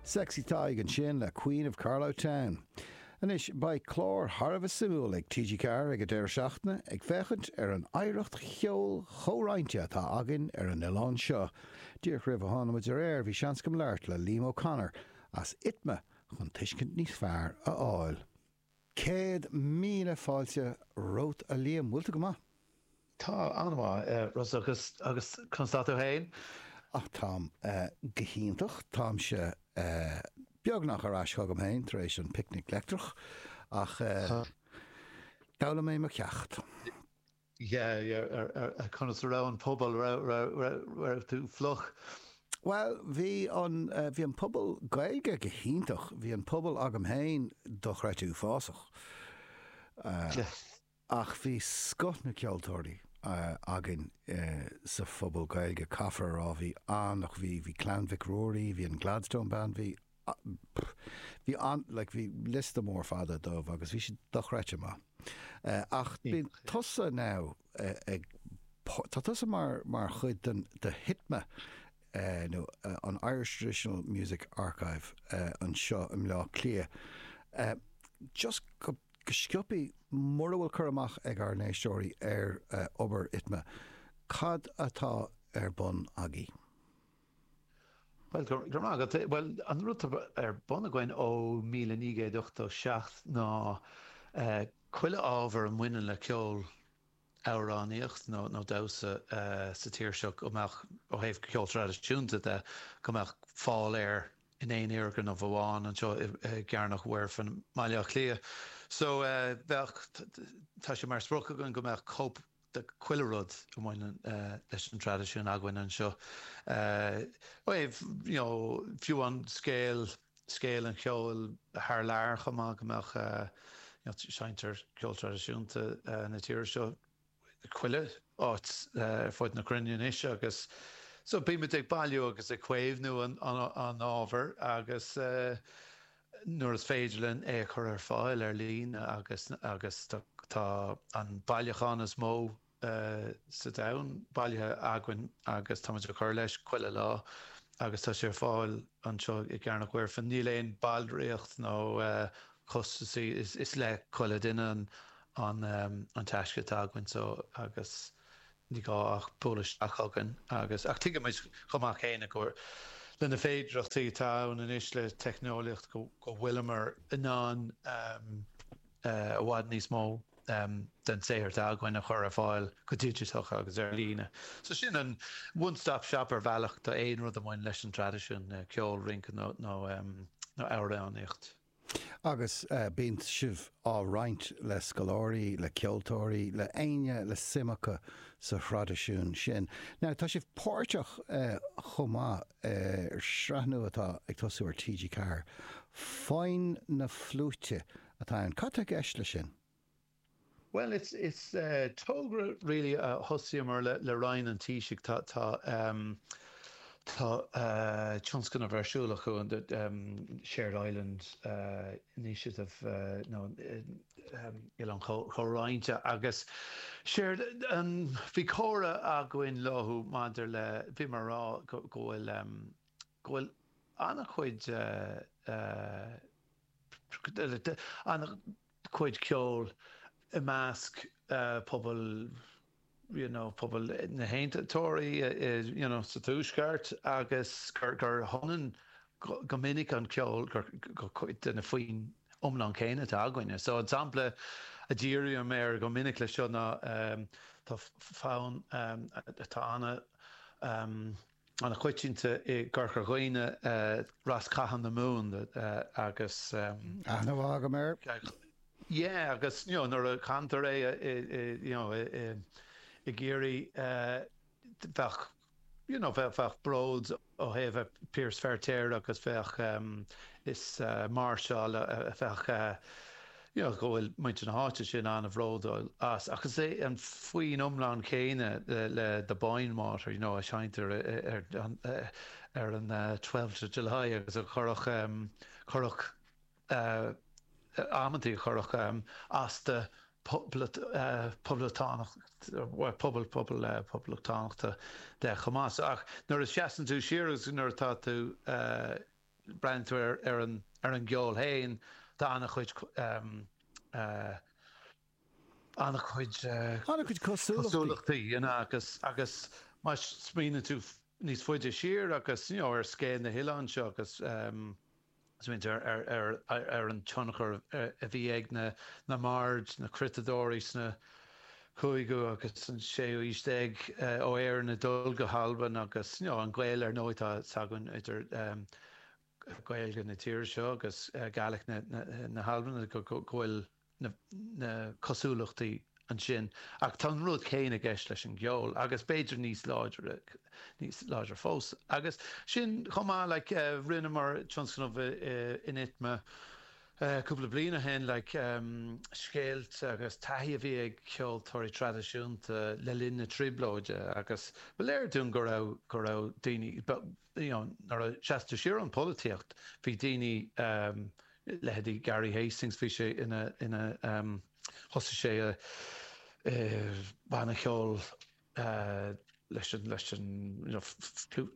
Sexy Tadhg ansin le Queen of Carlow Town. Anois, beidh clár thar a bheith suimiúil ag TG4 ag an deireadh seachtaine ag féachaint ar an oidhreacht cheoil chomhroinnte atá againn ar an oileán seo. Díreach roimh a tháinig muid ar aer bhí seans agam labhairt le Liam O'Connor as ITMA chun tuiscint níos fearr a fháil. 100,000 fáilte romhat a Liam, bhfuil tú go maith? Tá, an-mhaith, Rossa, agus, agus conas tá tú féin? Ach táim go hiontach, táimse beagnach ar ais chugam féin tar éis an Picnic Leictreach, ach d'fhoghlaim mé mo cheacht. Yeah, yeah, conas a raibh an puball, raibh tú fliuch? Bhuel, bhí an, bhí an puball Gaeilge go hiontach, bhí an puball agam féin dochreidte uafásach. Ach bhí scoth na ceoltóirí againn sa phuball Gaeilge, caithfear a rá, bhí an, ach bhí, bhí Clann Mhic Ruairí, bhí an Gladstone Band, bhí, bhí an, like, bhí liosta mór fada dóibh agus bhí siad dochreidte maith. Ach bíonn tusa now ag, tá tusa mar, mar chuid den, de HITMA nó an Irish Traditional Music Archive anseo i mBleá Cliath. Just go, go sciobthaí, mura bhfuil cur amach ag ár n-éisteoirí ar obair ITMA, cad atá ar bun agaibh? Bhuel, go raibh maith agat. Bhuel, an rud atá ar bun againn ó 1987 ná chuile ábhar a mbaineann le ceol, amhránaíocht nó damhsa sa tír seo go mbeadh, ó thaobh ceol traidisiúnta de, go mbeadh fáil air in aon fhoirgneamh amháin anseo i gCearnóg Mhuirfean i mBaile Átha Cliath. So, bheadh, tá sé mar sprioc againn go mbeadh cóip de chuile rud a bhaineann leis an traidisiún againn anseo. Ó thaobh, you know, fiú an scéal, scéal an cheoil thar lear chomh maith, go mbeadh, you know, seinntear ceol traidisiúnta na tíre seo chuile áit ar fud na cruinne anois agus so bímid ag bailiú agus ag caomhnú an ábhair agus nuair is féidir linn é a chur ar fáil ar líne agus agus tá an bailiúchán is mó sa domhan bailithe againn agus táimid ag cur leis chuile lá agus tá sé ar fáil anseo i gCearnóg Mhuirfean. Níl aon ballraíocht nó costasaí, is le chuile duine an an taisce atá againn so agus Ní gá ach bualadh isteach chugainn agus, ach tuigimid chomh maith céanna gur le na féidearthachtaí atá ann anois le teicneolaíocht go bhfuileamar in ann i bhfad níos mó den saothar atá againn a chur ar fáil go digiteach agus ar líne. So sin an one stop shop ar bhealach do aon rud a bhain leis an traidisiún, ceol, rince nó amhránaíocht. Agus bíonn sibh á roinnt le scoláirí, le ceoltóirí, le éinne le suim acu sa thraidisiún sin. Now, tá sibh páirteach chomh maith ar shraith nua atá ag tosú ar TG4, Foinn na Fliúite atá ann. Cad tá i gceist leis sin? Bhuel, is is togra really a thosaíomar le le Roinn an Taoisigh. Tá tá tá tionscnamh ar siúl acu, an Shared Island Initiative nó Oileán Comhroinnte agus séard an bhí comhrá againn leo maidir le bhíomar ag rá go go bhfuil go bhfuil an-chuid an-chuid ceoil i measc pobal you know pobal na hAontachtóirí you know sa Tuaisceart agus gur gur ionann go minic an ceol gur gur cuid de na foinn iomlán céanna atá againne. So an sampla a dhírím air go minic leis seo ná tá fonn atá ana an-choitianta i gCorca Dhuibhne, Rás Catha na Mumhan agus. Aithne mhaith agam air. Yeah, agus you know nuair a chantar é i you know i gCiarraí bheadh you know bheadh bród ó thaobh Piaras Feirtéar agus bheadh is máirseáil a bheadh you know, go bhfuil muintir na háite sin an-bhródúil as. Ach is é an foinn iomlán céanna le The Boyne Water, you know, a seinntear ar ar an twelfth of July agus a chuirfeadh, chuirfeadh, amantaí a chuirfeadh as do poblachtánach, pobal, pobal poblachtánachta de chomh maith. So, ach nuair a sheasann tú siar agus nuair atá tú. breathnaíonn tú ar ar an ar an gceol féin, tá an-chuid an-chuid An-chuid cosúlachtaí. cosúlachtaí, you know, agus agus má smaoiníonn tú níos faide siar agus, you know, ar scéal na hoileáin seo agus smaoiníonn tú ar ar ar ar an tionchar a bhí ag na na mbaird, na croitadóirí sna cúigiú agus an séú aois déag ó Éirinn ag dul go hAlbain agus, you know, an gaol ar ndóigh atá s'againn idir Gaeilge na tíre seo agus Gaelic na hAlban go bhfuil na cosúlachtaí ansin. Ach tá an rud céanna i gceist leis an gceol agus b'fhéidir níos láidre, níos láidre fós. Agus sin chomh maith, like, rinneamar tionscnamh in ITMA cúpla bliain ó shin, like, scéalta agus taithí a bhí ag ceoltóirí traidisiúnta le linn na Trioblóide agus ba léir dúinn go raibh, go raibh daoine, you know, nuair a sheas tú siar ón pholaitíocht, bhí daoine, leithéidí Gary Hastings, bhí sé ina, ina, thosaigh sé i banna ceoil leis an, leis an, you know, flute,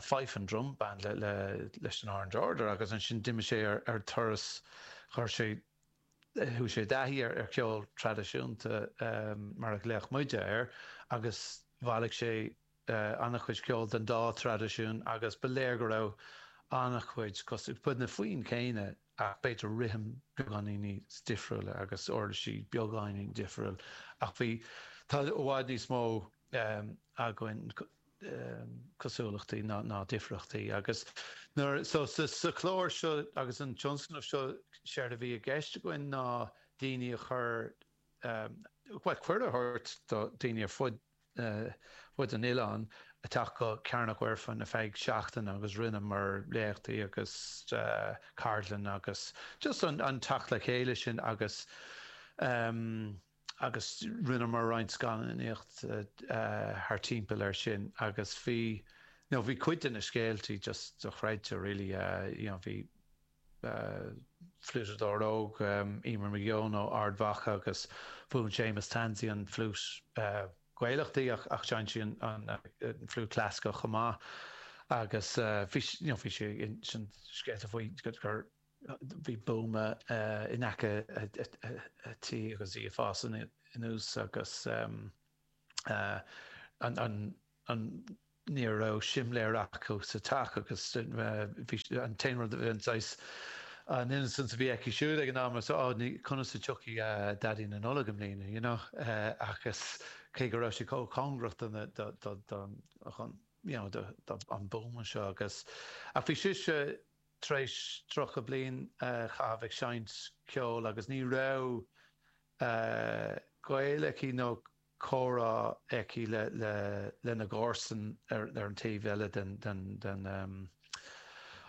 fife and drum band le, le, leis an Orange Order agus ansin d'imigh sé ar, ar turas, chuir sé, chuaigh sé i dtaithí ar, ar cheol traidisiúnta mar a ghlaodh muide air agus bhailigh sé an-chuid ceoil den dá thraidisiún agus ba léir go raibh an-chuid cosúil, ba na foinn céanna ach b'fhéidir rithim beagáinín níos difriúla agus uirlisí beagáinín difriúil ach bhí, tá i bhfad níos mó againn cosúlachtaí ná ná difríochtaí agus nuair, so sa sa chlár seo agus an tionscnamh seo séard a bhí i gceist againn ná daoine a chur, bhuel cuireadh a thabhairt do daoine ar fud fud an oileáin a teacht go Cearnóg Mhuirfean ar feadh seachtaine agus rinneamar léachtaí agus ceardlanna agus just an teacht le chéile sin agus agus rinneamar roinnt scannánaíocht thar timpeall air sin agus bhí you know bhí cuid de na scéaltaí just dochreidte really you know bhí fliúiteadóir óg, Emer McGeown ó Ard Mhacha agus mhúin Séamus Tansey an fliút Gaelach di ach sheinn sí an fliút clasaiceach chomh maith agus bhí you know bhí sí ag insint scéalta faoi gur bhí buama in aice a tí agus í ag fás anuas agus an an ní raibh simléar acu sa teach agus bhí an t-aon rud a bhí an saghas an innocence a bhí aici siúd ag an am so oh ní conas a tiocfaidh Daidí na Nollag i mbliana you know agus cé go raibh sí chomh cóngarach do na do do do chun you know do do an buama seo agus ach bhí sise tar éis 30 bliain a chaitheamh ag seinnt ceoil agus ní raibh gaol aici nó comhrá aici lena gcomharsain ar an taobh eile den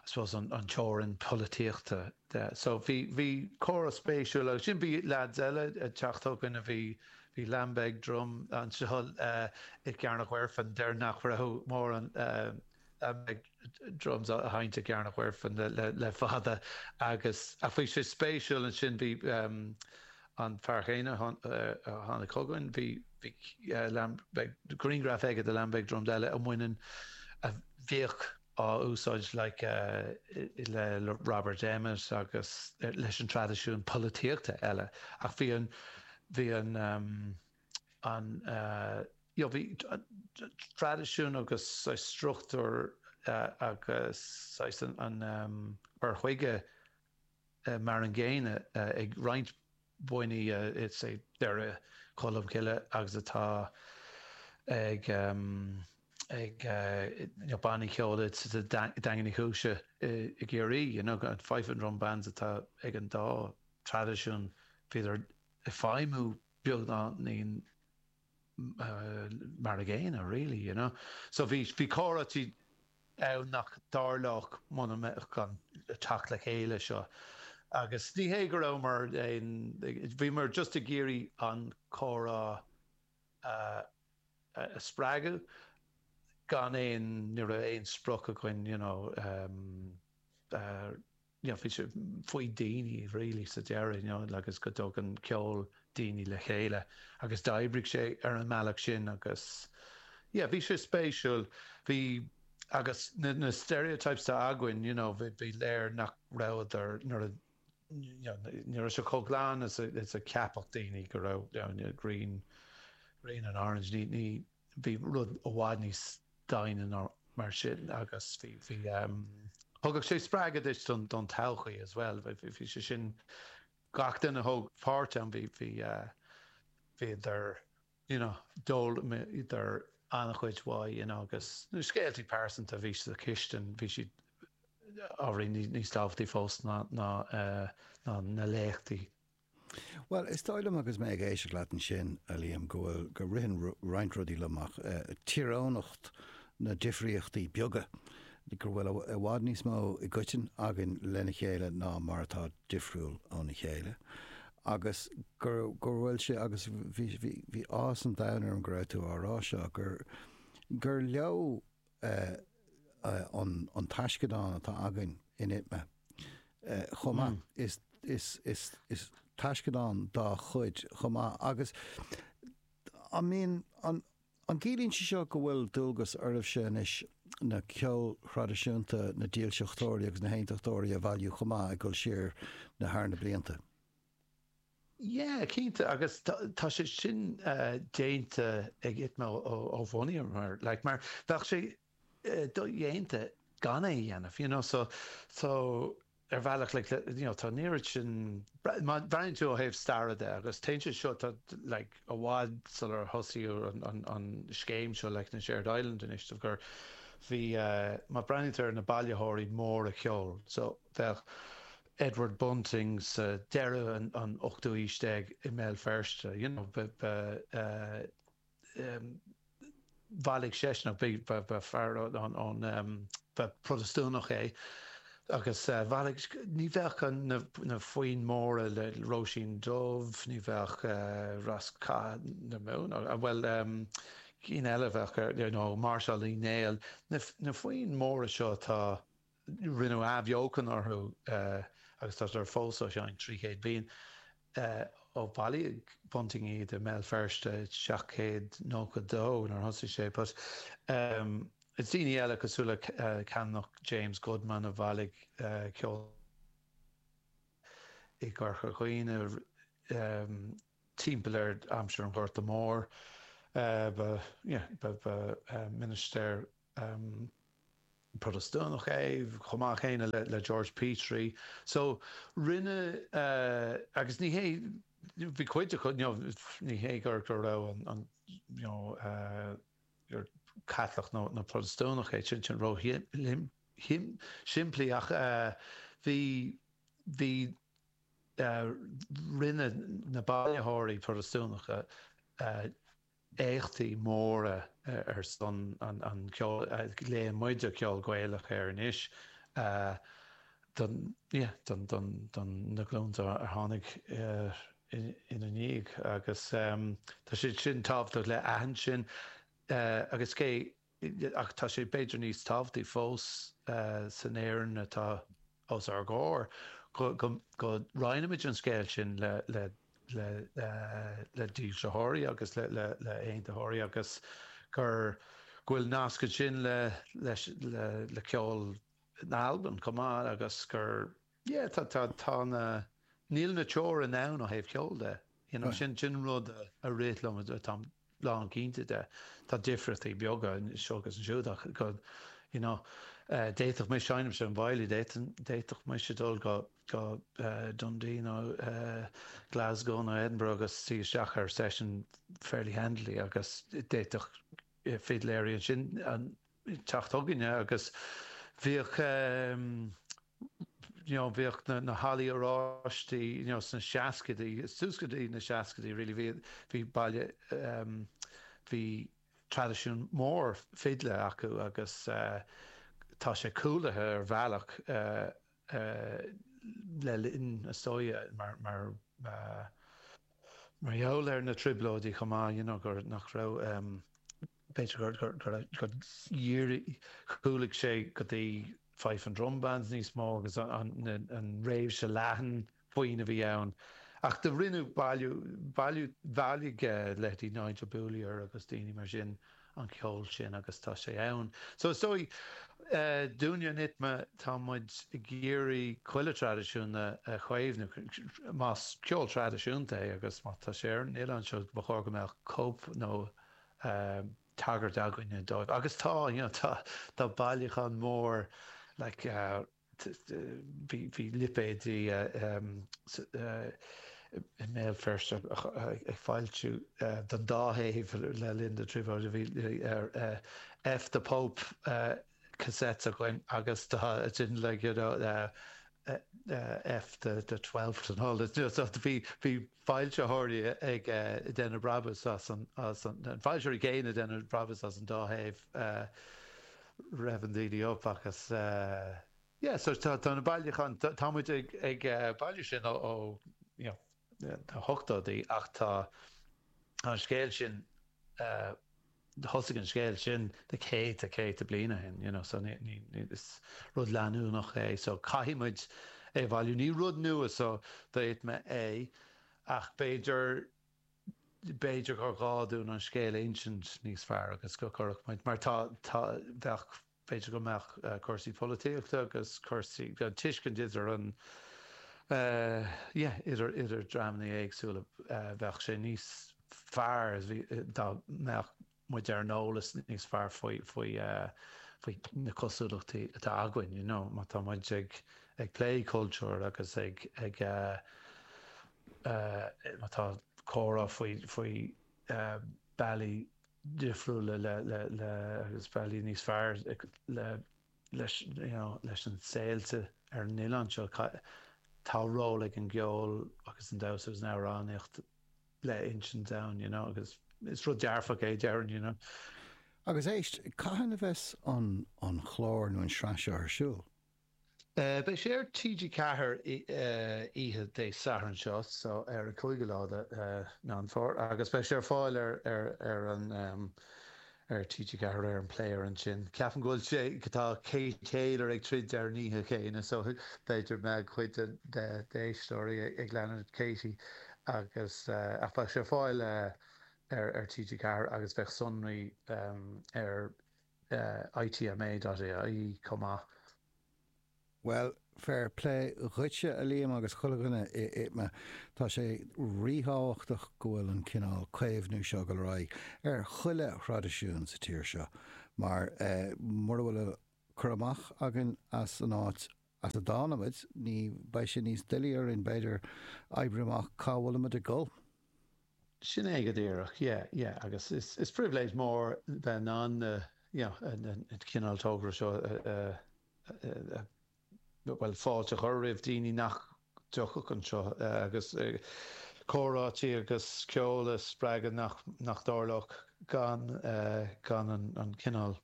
I suppose an teorainn polaitíochta de. So bhí bhí comhrá spéisiúil agus sin bhí lads eile ag teacht chugainn a bhí bhí Lambeg Drum anseo i gCearnóg Mhuirfean deir nach raibh mórán Lambeg Drums á sheinnt i gCearnóg Mhuirfean le fada agus ach bhí sé spéisiúil ansin bhí an fear chéanna a tháinig chugainn bhí bhí Lambeg grianghraf aige de Lambeg Drums eile a mbaineann a bhíodh á úsáid like le Robert Emmet agus leis an traidisiún polaitíochta eile ach bhí an bhí an an you know bhí traidisiún agus saghas struchtúr agus saghas an cur chuige mar an gcéanna ag roinnt bannaí i say Doire Cholmcille agus atá ag ag you know bannaí ceoil sa Daingean Uí Chúise i gCiarraí you know an fife and drum bands atá ag an dá traidisiún bhíodar ag feidhmiú beagáinín mar a gcéanna really, you know. So bhí, bhí comhráití ann nach dtarlódh muna mbeadh an teacht le chéile seo. Agus ní hé go rabhamar aon, bhíomar just ag iarraidh an comhrá a, a spreagadh gan aon, ní raibh aon sprioc againn, you know, you know, bhí sé faoi daoine really sa deireadh, you know, agus go dtugann ceol daoine le chéile agus d'oibrigh sé ar an mbealach sin agus yeah, bhí sé spéisiúil. Bhí Agus na stereotypes atá againn, you know, bhí léir nach rabhadar nuair a, you know, ní raibh sé chomh glan is a cheapfadh daoine go raibh, you know, green, green and orange, ní, ní, bhí rud i bhfad níos doimhne ná mar sin agus bhí, bhí, thugadh sé spreagadh duit don, don todhchaí as well, bhí sé sin, gach duine a thóg páirt ann, bhí, bhí, bhíodar, you know, d'fhoghlaimíodar an-chuid uaidh, you know, agus na scéaltaí pearsanta a bhí sa chistin, bhí siad ábhairín níos tábhachtaí fós ná, ná, ná na léachtaí. Bhuel, is dóigh liom agus mé ag éisteacht leat ansin, a Liam, go bhfuil, go ritheann roinnt rudaí liom ach tíreonacht na difríochtaí beaga, go bhfuil i bhfad níos mó i gcoiteann againn lena chéile ná mar atá difriúil óna chéile agus go, go bhfuil sé, agus bhí, bhí, bhí áthas an domhain orm go raibh tú á rá seo, gur, gur leo an, an taisceadán atá againn in ITMA chomh maith. Is, is, is, is taisceadán dá chuid chomh maith agus an mbíonn, an, An gciallaíonn sé seo go bhfuil dualgas oraibhse anois na ceol thraidisiúnta na dílseachtóirí agus na haontachtóirí a bhailiú chomh maith ag dul siar na thar na blianta? Yeah, cinnte, agus tá sé sin déanta ag ITMA ó bhunaíomar, like, mar bheadh sé dodhéanta gan é a dhéanamh, you know, so, so ar bhealach, like, you know, tá an oiread sin, má bhreathnaíonn tú ó thaobh staire de, agus téann sé seo, tá, like, i bhfad sular thosaíodh an, an, an scéim seo, like, na Shared Island Initiative, gur bhí, má bhreathnaíonn tú ar na bailitheoirí móra ceoil, so bheadh Edward Bunting sa deireadh an, an ochtú aois déag i mBéal Feirste, you know, ba, ba, eh, bhailigh seisean, ba fear ón, ba Protastúnach é, agus bhailigh, ní bheadh na foinn móra le Róisín Dubh, ní bheadh Rás Catha na Mumhan, bhuel, cinn eile a bheadh ar, you know, Máirseáil Uí Néill, na foinn móra seo atá Rinneadh athbheochan orthu agus tá siad fós á seinnt 300 bliain ó bhailigh Bunting iad i mBéal Feirste i 1792 nuair a thosaigh sé. But is daoine eile cosúil le Canonach James Goodman a bhailigh ceol i gCorca Dhuibhne timpeall ar aimsir an Ghorta Mhóir. Ba ba ministéir Protastúnach é, chomh maith céanna le George Petrie. So, rinne, agus ní hé, bhí cuid acu, you know, ní hé gur go raibh an, you know, gur Caitliceach nó nó Protastúnach é, sin sin ró-shimplí ach bhí, bhí, rinne na bailitheoirí Protastúnacha éachtaí móra ar son an cheoil, a ghlaonn muide ceol Gaelach air anois, don, yeah, don, don, don na glúnta a tháinig ina ndiaidh agus tá sé sin tábhachtach le aithint sin agus cé ach tá sé b'fhéidir níos tábhachtaí fós san Éirinn atá os ár gcomhair go roinnimid an scéal sin le le dílseoirí agus le haontaitheoirí agus gur go bhfuil nasc ansin le le ceol na hAlban chomh maith agus gur yeah tá tá tá na níl na teorainn ann ó thaobh ceoil de you know sin sin rud a rith liom táim lán cinnte de. Tá difríochtaí beaga anseo agus ansiúd ach go you know d'fhéadfadh mise seinnimse an veidhlí d'fhéadfadh mise dul go go Dundee nó Glasgow nó Edinburgh agus suí isteach ar session fairly handily agus d'fhéadfadh fidléirí ansin teacht chugainne agus bhíodh you know bhíodh na na hallaí oráistí you know sna seascaidí suas go dtí na seascaidí really bhí bhí baile bhí traidisiún mór fidle acu agus tá sé cúlaithe ar bhealach le linn is dóigh mar mar mar gheall ar na trioblóidí chomh maith you know gur nach raibh b'fhéidir gur gur gur gur dhírigh chúlaigh sé go dtí fife and drum bands níos mó agus an an réimse leathan foinn a bhí ann. Ach do rinneadh bailiú bailiú bhailigh leithéidí Nigel Beaulieu agus daoine mar sin. an ceol sin agus tá sé ann. So is dóigh, dúinne in ITMA, tá muid ag iarraidh chuile traidisiún a chaomhnú, más ceol traidisiúnta é agus má tá sé ar an oileán seo, ba chóir go mbeadh cóip nó tagairt againne dóibh. Agus tá, you know, tá, tá bailiúchán mór like, bhí lipéidí i mBéal Feirste ag foilsiú don dá thaobh le linn na trioblóide. Bhí F the Pope cassettes againn agus tá sin like you know F the Twelfth and all this. So bhí bhí foilsitheoirí ag déanamh brabús as an as an foilsitheoirí céanna ag déanamh brabús as an dá thaobh. Revving daoine up agus yeah so tá tá na bailiúcháin tá muid ag ag bailiú sin ó ó you know na hochtóidí ach tá an scéal sin thosaigh an scéal sin na céadta céadta bliain ó shin you know so ní ní ní is rud leanúnach é so caithfidh muid é a bhailiú. Ní rud nua so do ITMA é ach b'fhéidir b'fhéidir gur ghá dúinn an scéal a insint níos fearr agus go gcuirfeadh muid, mar tá, tá, bheadh, b'fhéidir go mbeadh cúrsaí polaitíochta agus cúrsaí, an tuiscint idir an, yeah, idir, idir dreamanna éagsúla, bheadh sé níos fearr dá mbeadh muid ar an eolas níos fearr faoi, faoi, faoi na cosúlachtaí atá againn, you know, má tá muid ag, ag plé cultúr agus ag, ag, má tá comhrá faoi, faoi bealaí difriúla le, le, le, agus bealaí níos fearr le, leis, you know, leis an saol sa, ar an oileán seo, tá ról ag an gceol agus an damhsa agus an amhránaíocht le insint ann, you know, agus is rud dearfach é, déarfainn, you know. Agus éist, cathain a bheas an an chlár nó an sraith seo ar siúl? Beidh sé ar TG4 oíche Dé Sathairn seo, so ar an 5ú lá de Meán Fómhair, agus beidh sé ar fáil ar ar ar an ar TG4 ar an player ansin. Ceapaim go bhfuil sé, tá Kate Taylor ag troid ar an oíche chéanna so b'fhéidir mbeadh cuid d'éisteoirí ag leanúint Katie agus ach beidh sé ar fáil ar ar TG4 agus beidh sonraí ar itma.ie chomh maith. Bhuel, fair play dhuitse, a Liam, agus chuile dhuine i ITMA. Tá sé ríthábhachtach go bhfuil an cineál caomhnú seo ag dul ar aghaidh ar chuile thraidisiún sa tír seo, mar mura bhfuil cur amach againn as an áit as a dtáinig muid, ní beidh sé níos doiligh orainn, b'fhéidir, oibriú amach cá bhfuilimid ag dul. Sin é go díreach, yeah, yeah, agus is, is pribhléid mór bheith in ann na, you know, an cineál togra seo a, a, bhuel, fáilte a chur roimh daoine nach dtiocfadh anseo agus comhráití agus ceol a spreagadh nach, nach dtarlódh gan, gan an, an cineál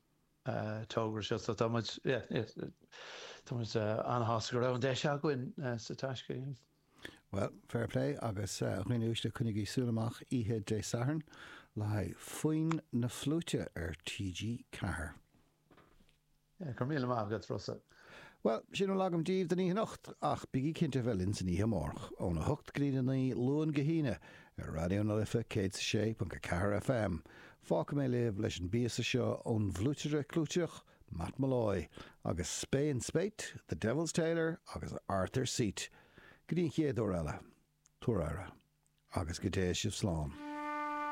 togra seo. So tá muid, yeah, yeah, tá muid an-shásta go raibh an deis againn sa taisce, yeah. Bhuel, fair play agus a dhaoine uaisle coinnigí súil amach oíche Dé Sathairn le haghaidh Foinn na Fliúite ar TG4. Yeah, go raibh míle maith agat, Rossa. Bhuel, sin a bhfuil agam daoibh don oíche anocht, ach bígí cinnte a bheith linn san oíche amárach, óna hocht go dtí a 9, Luan go hAoine, ar Raidió na Life 106.4 FM. Fágfaidh mé libh leis an bpíosa seo ón bhfliúitire clúiteach, Matt Molloy, agus Spey and Spate, The Devil's Tailor agus Arthur's Seat. Go dtí an chéad uair eile, tabhair aire, agus go dté sibh slán.